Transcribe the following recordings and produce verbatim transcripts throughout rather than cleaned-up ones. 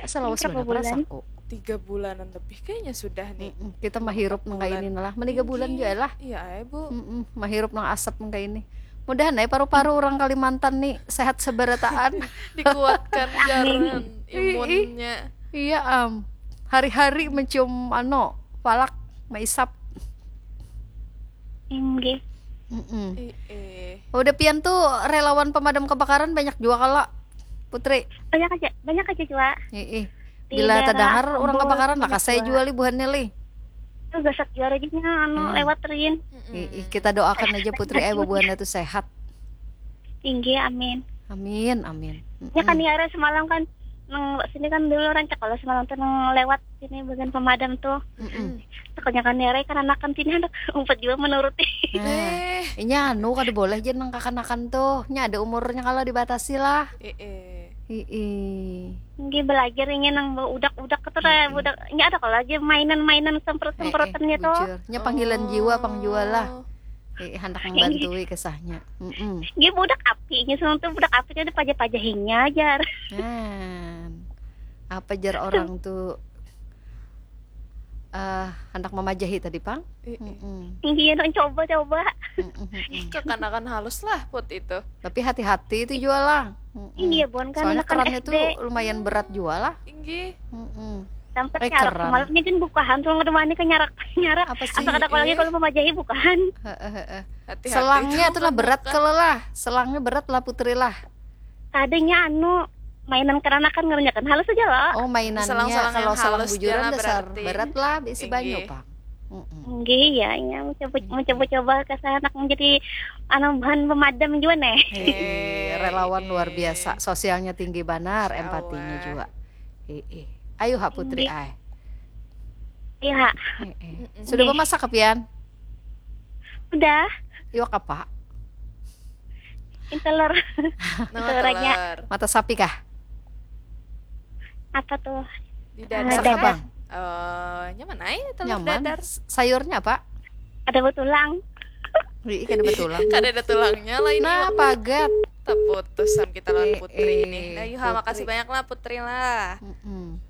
Salawas Berapa banar perasa bulan? Aku. Tiga bulanan lebih kayaknya sudah nih. Mm-mm. Kita mahirup nang kayak ini lah. Meniga bulan juga lah. Iya, eh, Bu. Mm-mm. Mahirup nang asap nang kayak ini. Mudahan aja paru-paru orang Kalimantan nih sehat seberataan. Dikuatkan jaran Ih, ih. imunnya. Iya am. Hari-hari mencium ano palak maisap. Inggih. Mm-mm. Ih, eh. Udah pian tuh relawan pemadam kebakaran banyak juga kalo Putri. Banyak aja, banyak aja juga. Ih, ih. Di Bila daerah tadahar orang Ambon kebakaran lah banyak kasih juga. Jual ibuhannya li. Itu gasak juara juga anu Hmm. lewat Rin. Mm-mm. Ih, ih, kita doakan aja Putri eh bubuhannya tuh sehat. Inggih, amin. Amin, amin. Ya kan Mm-mm. Yara semalam kan nang sini kan dulu rancak kalau semalam tuh nang lewat sini bagian pemadam tuh. Mm-mm. Takutnya kan Yara kan anak kan sini anak umpet juga menuruti. Nah, inya anu kada boleh aja nang kakanakan tuh. Nya ada umurnya kalau dibatasi lah. Eh, eh. Ih, ih. Inggih belajar ini nang udak-udak itu lah Mm-mm. budak. Ini ada kalau aja mainan-mainan semprot-semprotannya Eh, eh, tuh. bujur. Nya panggilan jiwa pang jual lah. Oh. Eh, hendak membantu kisahnya. Mm-mm. Ini budak api, ini semua tuh budak api ada pajah-pajahinya ajar. Nah, apa jar orang tuh eh hendak memajahi tadi pang? Eh, eh. Mm-mm. Iya dong coba-coba. Mm-mm, mm-mm. Kekanakan halus lah put itu. Tapi hati-hati itu jual lah. Mm-mm. Iya bon kan Soalnya anak-anak kerannya S D. Tuh lumayan berat jual lah. Inggih. Mm-mm. Sampai Eh, nyarak keran. Semalam ini kan bukahan tuh ngademani ke nyarak nyarak. Apa sih? Apa kada Eh, lagi eh. Kalau memajahi bukahan. Heeh, heeh. Hati-hati Selangnya tuh tuh lah berat buka. Kalau lah. Selangnya berat lah Putri lah. Tadinya anu mainan keranakan ngerjakan halus aja lah. Oh mainannya Selang-selang kalau yang selang halus bujuran dia lah dasar berarti. Berat lah bisi Inggih. Banyu pang. Mm-mm. Enggak ya, ya mencoba mencoba-coba ke sana menjadi anu bahan pemadam juga nih. Ih, relawan luar Eh. Biasa, sosialnya tinggi banar, Masya empatinya Allah. Juga. Ih, ih. Ayo ha Putri Inggih. Ay. Iya. Eh, eh. Sudah memasak pian? Udah. Iwak apa? Ini telur. Nama Telur aja. Telur. Mata sapi kah? Apa tuh? Di Ah, dadar. Kakak dadar. bang. Eh, nya mana ya telur Nyaman. Dadar? S- Sayurnya apa? Ada betulang. Ih, kada betulang. Kada ada tulangnya lah ini. Nah, Wak. Pagat. Teputusan kita lawan Eh, Putri eh, ini. Nah, Yuha, Putri. Makasih banyak lah Putri lah. Mm-mm.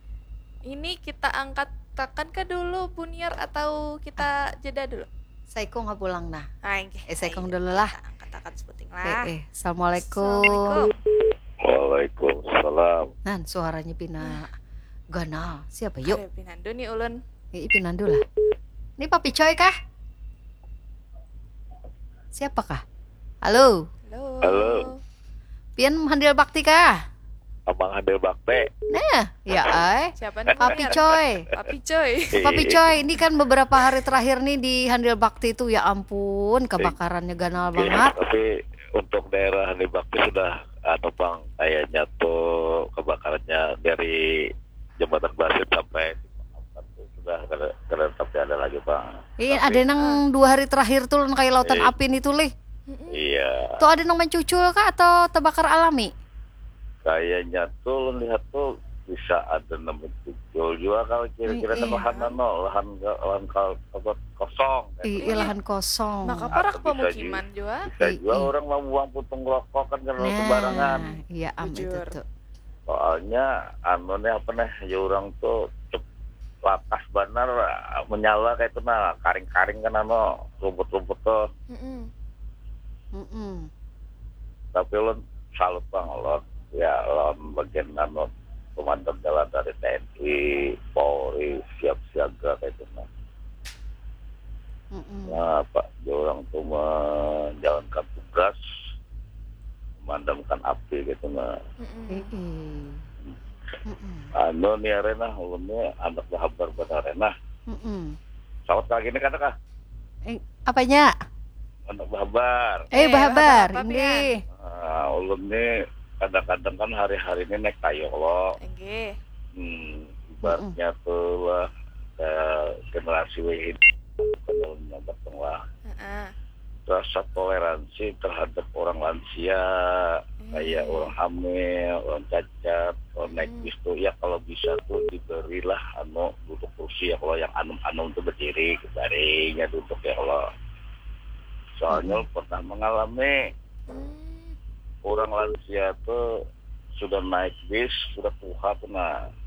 Ini kita angkatakan ke dulu Buniar atau kita jeda dulu? Saikung ha pulang nah. Ah, inggih. Eh, saikung Ayo, dulu lah. Kita angkatakan sebuting Eh, lah. Eh, Assalamualaikum. Assalamualaikum. Waalaikumsalam. Nah, suaranya pina ganal. Siapa yuk? Ada pinandu nih ulun. Ini pinandu lah. Ini Papi Coy kah? Siapa kah? Halo. Halo. Halo. Pian handil bakti kah? Abang handil bakti. Nah, ya ay. Siapa nih? Papi Buniar? Coy. Papi Coy. Papi Coy, ini kan beberapa hari terakhir nih di handil bakti tuh ya ampun kebakarannya ganal Iya, banget. Tapi untuk daerah handil bakti sudah anu bang, kayaknya tuh kebakarannya dari jembatan Basit sampai di Makassar tuh sudah kada kada tapi ada lagi bang. Iya, Tapi- ada nang dua hari terakhir tuh kayak lautan Iya. Api itu lih. Iya. Tuh ada nang mencucul kah atau terbakar alami? Kayaknya tuh lihat tuh bisa ada nang mencucul juga kalau kira-kira Iya. Lahan anu, lahan lahan kal apa kosong. Iya, lahan kosong. Maka parak Atau bisa pemukiman juga. Bisa juga Iya. Orang membuang puntung rokok kan karena Nah, sembarangan. Iya am itu Bujur. Tuh. Soalnya anu nih apa nih ya orang tuh cep- lakas banar menyala kayak itu nah karing-karing kan anu rumput-rumput tuh. Mm-mm. Mm-mm. Tapi ulun salut bang ulun ya lawan bagian anu pemadam jalan dari T N I, Polri siap siaga kayak itu nah. Mm-mm. Nah, Pak, dia orang tuh menjalankan tugas memadamkan api gitu nah. Mm-mm. Mm-mm. Mm-mm. Anu nih arena ulun nih anak bahabar banar arena. Mm-mm. Sawat lagi nih kata kah? Eh, apanya? Anak bahabar. Eh, Eh, bahabar, bahabar apa, ini. Nah, ulun nih kadang-kadang kan hari-hari ini naik tayo lo. Enggih. Hmm, ibaratnya tuh lah eh, generasi W ini bukan ulun nyambat dong lah. Heeh. Rasa toleransi terhadap orang lansia, kayak Hmm. orang hamil, orang cacat, orang naik Hmm. bis tuh ya kalau bisa tuh diberilah anu duduk kursi ya kalau yang anum-anum tuh berdiri kebarinya duduk ya kalau soalnya Mm-mm. pernah mengalami Hmm. orang lansia tuh sudah naik bis sudah tuha tuh nah ya